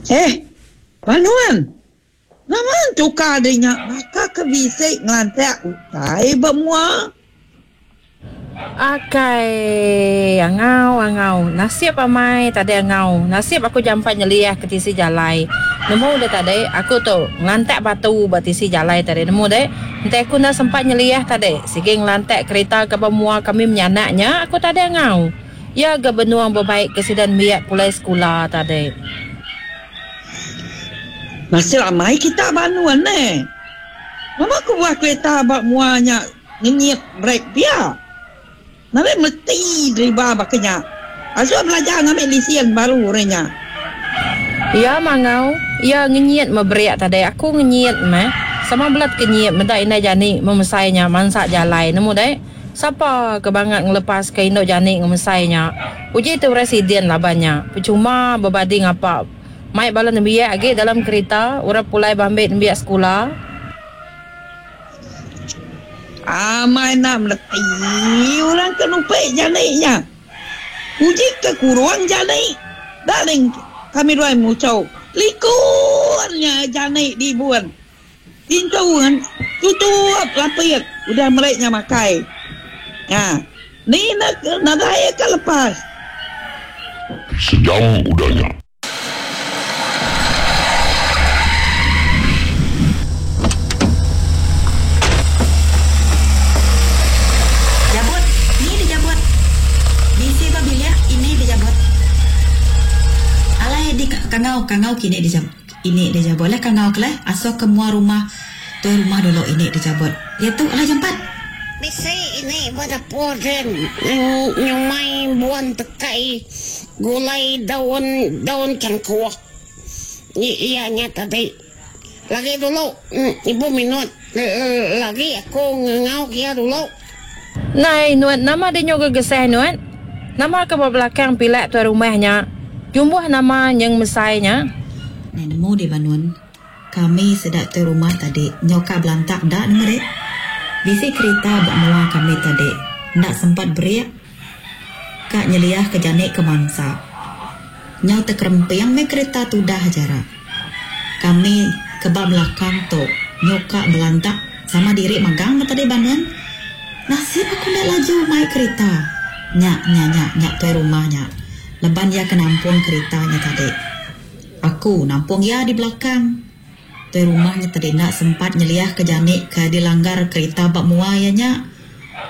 Eh, ba nuan. Nama entukar deh nya baka ke bisi ngelantak utai ba mua. Akai, angau angau. Nasib amai tadi angau. Nasib aku jampat nyeliah ke tisi jalai. Nemu deh tadi, aku tu ngelantak batu ba tisi jalai tadi nemu deh. Enti aku enda sempat nyeliah tadi, sigi ngelantak kerita ke ba mua kami menyanak nya aku tadi angau. Iya ga benung bebaik ke sida nembiak pulai sekula tadi. Nasib amai kita ba anun neh. Nama kebuah kereta ba mua nya ngenyit brek pia? Nadai mesti deriba baka nya. Asuh belajar ngambi lisin baru orang nya. Iya mangau, iya ngenyit meh brek tadi. Aku ngenyit meh. Sama bela tekenyit meda indai jani memesai nya mansa jalai nemu deh. Sapa ke bangat ngelepaska indu jani ngemesai nya? Uji tu residen laban nya. Pechuma bebadi ngapa. Mai bala nembiak agi dalam kerita, orang pulai bambi nembiak sekula. Amai enda meleti orang ke nupi jani nya. Uji ke kurung jani. Darling kami duai muchau likun nya jani dibun. Pintu tutup lapit udah meri nya makai. Nya ni ne nadai ka lepas. Sejam udah nya. Jabut, ni dijabut. Bisi ba bilik ini dijabut. Alai di kangau kangau kini dijabut. Ini dijabut lah kangau ke leh asuh ke mua rumah tuai rumah dulu ini dijabut. Diatu alai jampat. Bisi ini ba dapur din nyumai buan tekai gulai daun daun cangkuk iya nya tadi. Lagi dulu ibu minut lagi aku ngangau ke iya dulu. Nai nuan nama dinyu gegesah nuan? Nama ke ba belakang pilak tuai rumah nya? Jumbuh nama nyeng mesai nya? Nai nemu deh banun. Kami sida tuai rumah tadi nyau ka belantak da nemu deh. Bisi kerita ba mua kami tadi enda sempat berik ka nyeliah ke jani ke mansa. Nyau tekeremping meh kerita tudah jara. Kami ke ba belakang tu nyuka belantak sama diri magang ba tadi banun. Nasib aku enda laju mai kerita. Nya nya nya nya tuai rumah nya laban iya ke nampung kerita nya tadi. Aku nampung iya di belakang. Tuai rumah nya tadi enda sempat nyeliahka jani ke dilanggar kerita ba mua iya nya.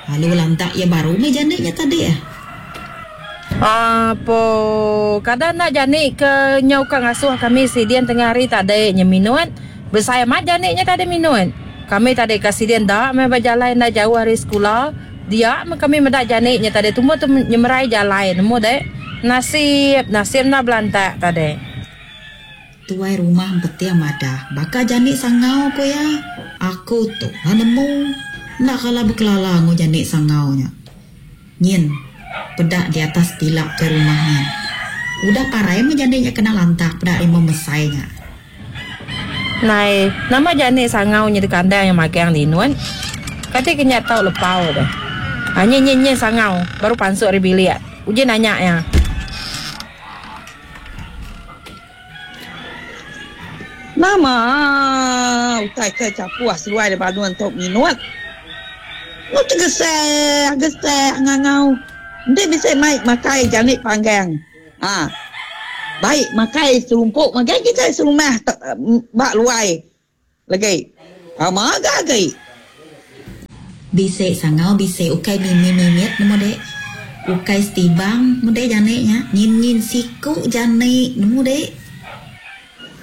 Lalu lantak iya baru meh jani nya tadi. Apo, kada enda jani ke nyau ka ngasuh kami sidin tengah hari tadi nya minut. Besai amat jani nya tadi minut. Kami tadi ka sidin enda meh ba jalai enda jauh ari sekula. Dia meh kami meda jani nya tadi tumbuh tu nyemerai jalai nemu deh. Nasib, nasib enda belantak tadi. Tuai rumah Empeting madah baka jani sangau ku iya. Aku tu lah nemu. Enda kala bekelala enggau jani sangau nya. Nyin, peda di atas pila tuai rumah nyin. Udah parai meh jani nya kena lantak peda rimau mesai nya. Nai, nama jani sangau nya dikandang iya magang linut. Kati ke nya tau lepau deh. Ha nyin nyin nyin sangau baru pansut ari bilik. Uji nanya iya. Nama utai ke chapuh seduai da banun tu minut. Enggau tegesah gesah ngangau enti bisi mai makai jani panggang. Ha. Baik makai serumpuk magai kitai serumah ba luai legi. Pama ga agi. Bisi sangau bisi ukai mimi mimit nemu dek. Ukai setibang nemu dek janik nya. Nyin nyin siku janik nemu dek.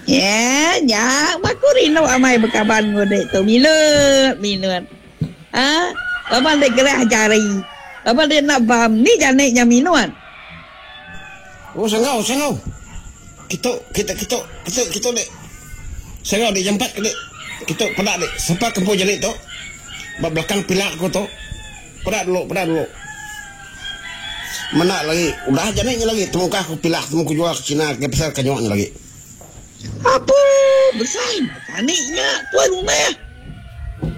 Nya nya aku rindu amai bekaban enggau dek tu minut minut. Ha laban dek gerah jari. Laban dek enda bam ni janik nya minut. Oh sangau sangau. Kitu kitu kitu kitu kitu dek. Sangau dek jampat ke dek. Kitu peda dek sapa ke empu jani tu. Ba belakang pila aku tu. Peda dulu peda dulu. Menda lagi udah jani nya lagi temukah ku pilah temu ku jual ke cina ke pasal kanyok nya lagi. Apu besai jani nya tuai rumah.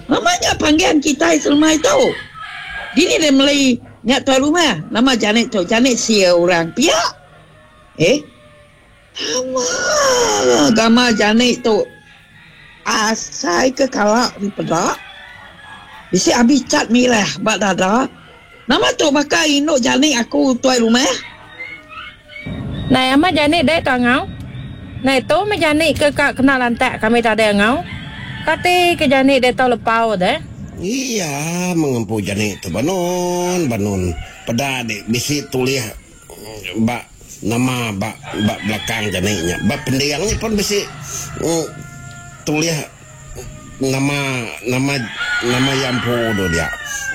Nama nya panggian kitai selemai tu. Dini deh meli Nya tuai rumah, nama janik tu janik sia orang pia. Eh. Nama gamal jani tu asai ke kala dipeda. Bisi abi cat mirah ba dada. Nama tu baka indu jani aku tuai rumah. Nai amat jani dek tu angau. Nai tu meh jani ke ka kena lantak kami tadi angau. Kati ke jani dek tau lepau deh. Iya mengempu jani tu banun banun peda dek bisi tulih ba nama ba ba belakang jani nya. Ba pending nya pun bisi tulih nama nama nama iya empu tu dia.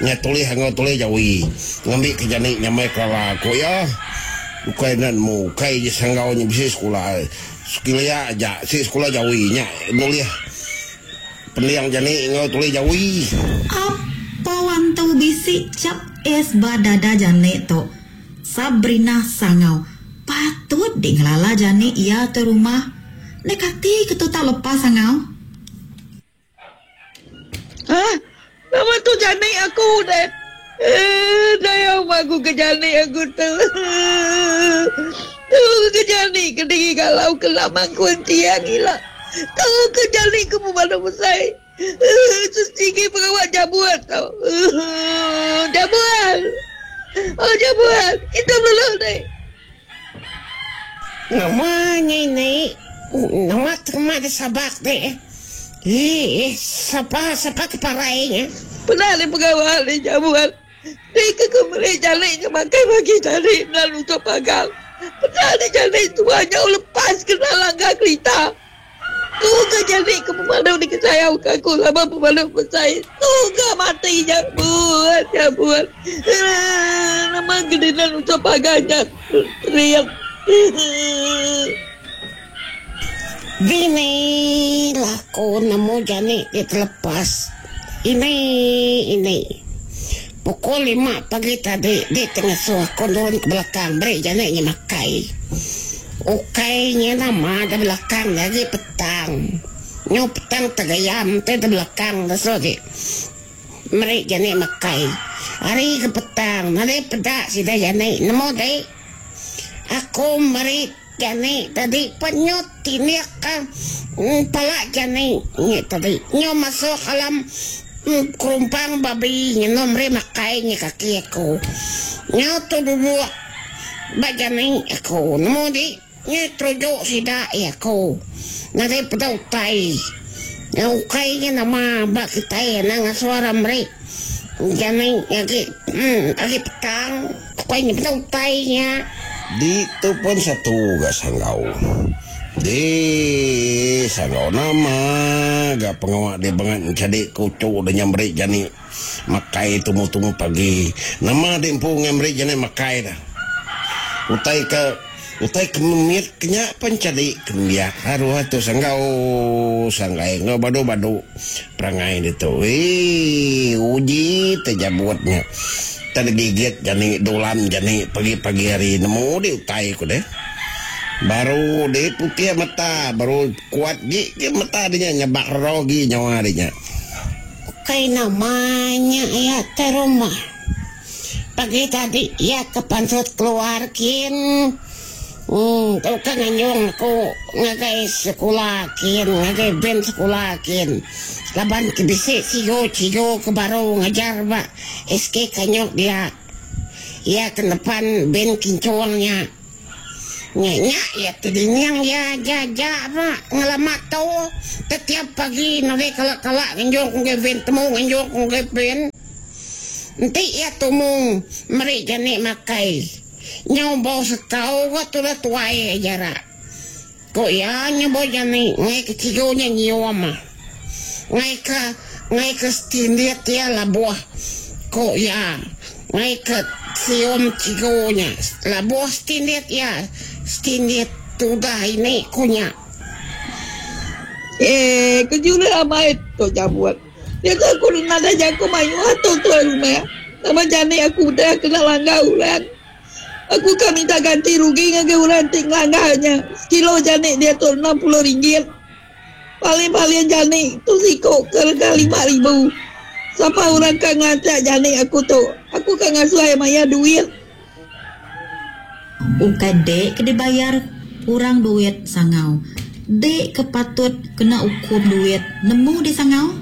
Nya tulih enggau tulih jawi ngambi ke jani nyamai kelala ku iya. Ukai enda nemu ukai je sanggau nya bisi sekula sekilia aja si sekula jawi nya nulih pending jani enggau tulih jawi. Apa antu bisi chap S ba dada jani tu. Sabrina Sangau patut di ngelala jani iya tu rumah. Enda kati ke tu tau lepas Sangau. Hah? Nama tu jani aku deh. Eh, daya aku ke jani aku tu. Tu ke jani ke diri galau ke lama kunciang ila. Tu ke jani ke pemadu besai. Sigi pengawa jabuan tau. Jabuan. Oh jabuan. Kita belelak deh. Nama nya ini? Nama terima di sabak deh. Eh, sapa sapa ke parai nya? Pernah deh pengawa deh jabuan. Deh ke ke meri jali nya makai pagi tadi lalu ke pagang. Pernah deh jali tua nyau lepas kena langgar kerita. Tu ga jadi ke pemalu dikesayau ke aku laban pemalu besai. Tu ga mati nya buat nya buat. Nama gedinan usah pagar nya teriak. Dini lah aku nemu jani ti telepas. Ini ini. Pukul lima pagi tadi di ti ngasuh aku nurun ke belakang beri jani nya makai. Ukai nya nama da belakang nya agi petang. Nyu petang tegayam ti da belakang da suh agi meri jani makai. Ari ke petang nadai peda sida jani nemu dei. Aku meri jani tadi pen nyu tindik ka pala jani nya tadi. Nyu masuk alam kerumpang babi nyenu meri makai nya kaki aku. Nyu tu duduk ba jani aku nemu di nyu teruju sida iya aku. Nadai peda utai. Ukai nya nama ba kitai anang ngasuh orang meri jani agi agi petang. Ukai nya peda utai nya. Ditu pun satu ga sanggau. Di sanggau nama ga pengawa di bangat enchadi ke uchu da nya meri jani makai tumu-tumu pagi. Nama di empu ngai meri jani makai da. Utai ke utai ke memit ke nya pun enchadi ke nembiak aruh tu sanggau sanggai enggau badu-badu perangai ditu. Eii uji tejabut nya. Tang digigit jani dulam jani pagi-pagi hari nemu di utai ku deh. Baru di putih mata baru kuat gi ke mata di nya nyabak rogi nyawa di nya. Ukai nama nya iya te rumah. Pagi tadi iya ke pansut keluar kin. Uhh tauka nganjung aku ngagai sekula kin ngagai van sekula kin laban ke bisi sigu cigu ke baru ngajar ba SK Kanyok dia. Iya ke nepan van kincung nya. Nya nya iya ti dining iya aja aja ba ngelama tu tetiap pagi nadai kala kala nganjung ku ngagai van temu nganjung ku ngagai van. Enti iya tumu meri jani makai. Nyau bau sekau ga tudah tuai aja ra. Ku iya nyebut jani ngai ke cigu nya nyium. Ngai ke ngai ke setindit iya labuh ku iya ngai ke sium cigu nya labuh setindit iya setindit tudah ini ku nya. Eh kejulih amai tu jabut. Jaku aku nadai jaku mayuh tu tuai rumah. Nama jani aku udah kena langgar orang. Aku ka minta ganti rugi ngagai orang ti ngelanggar nya. Sekilo jani diatu 60 ringgit. Paling-paling jani tu siku ke rega 5000. Sapa orang ka ngelanchak jani aku tu? Aku ka ngasuh iya mayar duit. Ukai dek ke dibayar. Orang duit sangau. Dek ke patut kena ukum duit nemu deh sangau.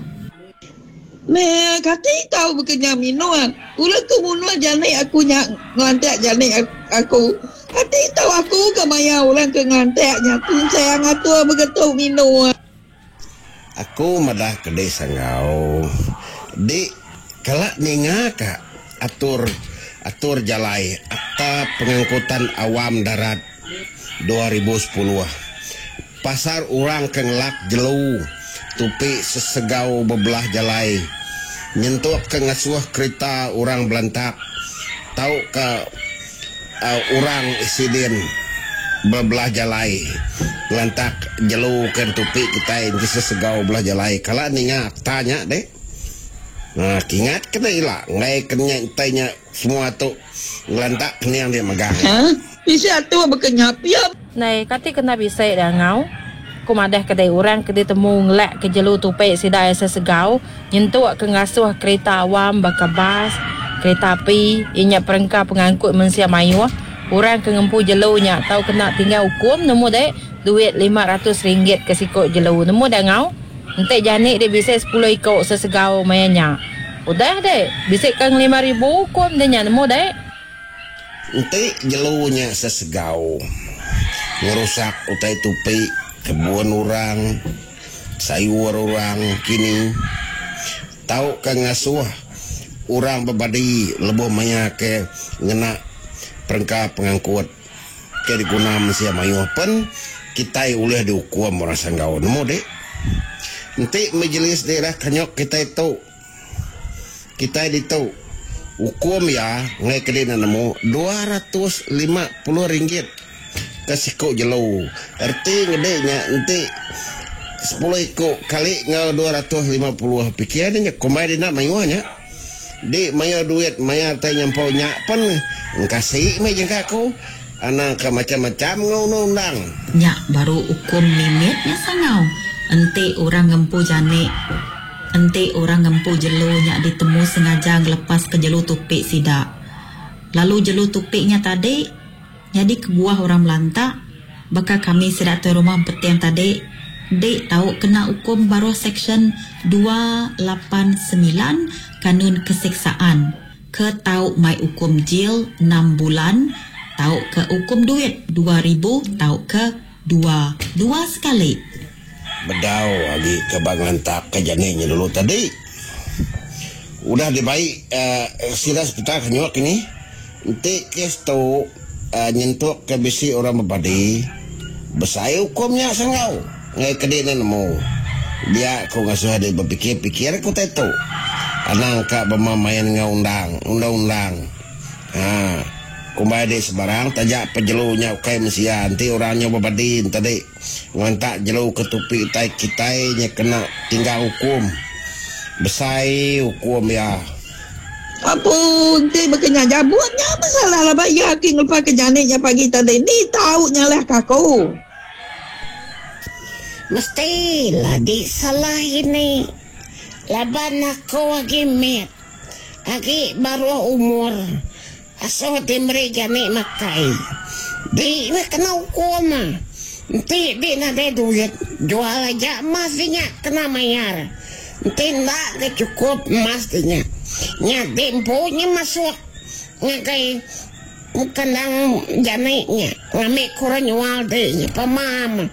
Meh kati tau bekenya minut. Ulah ke munuh janik aku nya ngelantak janik aku. Kati tau aku ke maya orang ke ngelantak nya tunsang atur begetu minut. Aku madah ke dek sanggau. Dek kala ninga ka atur atur jalai Akta Pengangkutan Awam Darat 2010. Pasar orang ke ngelak jelu tupi sesegau bebelah jalai nyentuk ke ngasuh kerita orang belantak tauka orang isidin bebelah jalai ngelantak jelu ke entupi kitai enti sesegau belah jalai kala ninga akta nya deh. Haa kingat ke ne ila enggai ke nya entai nya semua tu ngelantak kening dia megang. Haa bisi atur baka nya pia. Ndai kati kena bisi da ngau. Ku madah kedai orang ke ditemu ngelak ke jelu tupi sida iya sesegau nyentuk ke ngasuh kerita awam baka bas, kerita api, iya nya perengka pengangkut mensia mayuh. Orang ke ngempu jelu nya tau kena tinggal ukum nemu dek duit RM500 ke siku jelu nemu da ngau. Enti jani dek bisi sepuluh iku sesegau maya nya. Udah dek bisi ke ngelima ribu ukum dek nya nemu dek. Enti jelu nya sesegau ngerusak utai tupi kebun orang, sayur orang kini, tauka ngasuh orang bebadi lebuh maya ke ngena perengka pengangkut ke diguna mensia mayuh pen kitai ulih diukum orang Sanggau. Nemu dik? Enti Majlis Daerah Kanyok kitai tu. Kitai ditu, ukum iya enggai ke dina nemu RM250 ke siku jelu. Reti ngedi nya enti sepuluh iku kali enggau 250 pikir ne nya kumbai dina mayuh nya. Di mayuh duit mayar tai nyampau nya pen engkasi meh jangka aku. Anang ke macam-macam enggau undang-undang. Nya baru ukum mimit nya sangau enti orang ngempu janik. Enti orang ngempu jelu nya ditemu sengaja ngelepaska jelu tupi sida, lalu jelu tupi nya tadi nyadi kebuah orang melantak, baka kami sida tuai rumah empeting tadi, dik tau kena ukum baruh Seksyen 289 Kanun Keseksaan ke tau mai ukum jil enam bulan tauka ukum duit 2000 tauka dua dua sekali. Bedau agi ke ba ngelantak ke jani nya dulu tadi. Udah dibai sida sepital ke nyuak kini. Enti kes tu nyentuk ke bisi orang bebadi, besai ukum nya sanggau ngagai ke di enda nemu. Dia ku ngasuh diri bepikir-pikir ke utai tu. Anang ka bema main enggau undang, undang-undang. Ha. Kumbai diri sebarang taja pejelu nya ukai mensia enti orang nya bebadi enti. Ngelantak jelu ke tupi utai kitai nya kena tinggang ukum. Besai ukum iya. Apu enti baka nya jabut nya besalah laban iya agi ngelepas ke janik nya pagi tadi ni tau nyalah ke aku. Mesti lagi salah ini laban aku agi mit agi baruh umur. Asuh ti meri jani makai. Di meh kena ukum. Enti di nadai duit, jual aja emas di nya kena mayar. Enti enda ga chukup emas di nya, nya di empu nya masuk ngagai kandang jani nya ngambi ke orang nyual di nya pemam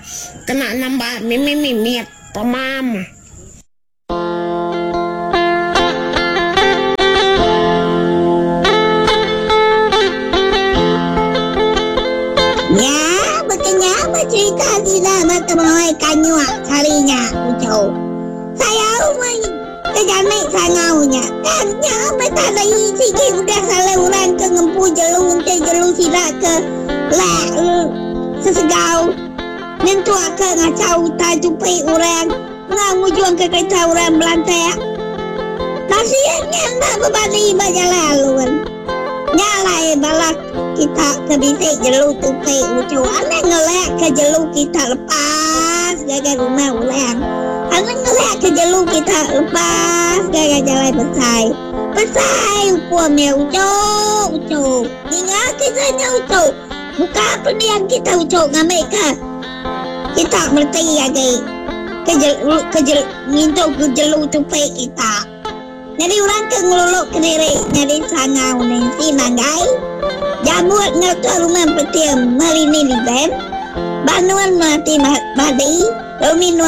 kena nambah mimit-mimit pemam. Nya baka nya ba cherita sida ba temuai kanyuk sehari nya uchu. Sayau meh ke jani sangau nya. Tang nya meh tadi sigi udah salah orang ke ngempu jelu enti jelu sida ke lak sesegau nyentuk ke ngachau utai tupi orang. Enggau ngujungka kerita orang belantak. Nasib nya enda bebadi ba jalai alun. Nya alai bala kita ke bisi jelu tupi uchu anang ngelakka jelu kita lepas ngagai rumah orang. Anang ngelakka jelu kita lepas ngagai jalai besai. Besai ukum iya uchu uchu. Ninga kisah nya uchu. Buka pending kita uchu ngambika kita mereti agi ke ke ngintu ke jelu tupi kita. Nyadi orang ke ngelulu kediri nyadi sangau Nancy Manggai, Jambut enggau Tuai Rumah Empeting Melini Liben, Banun Melati Badi, Rumi.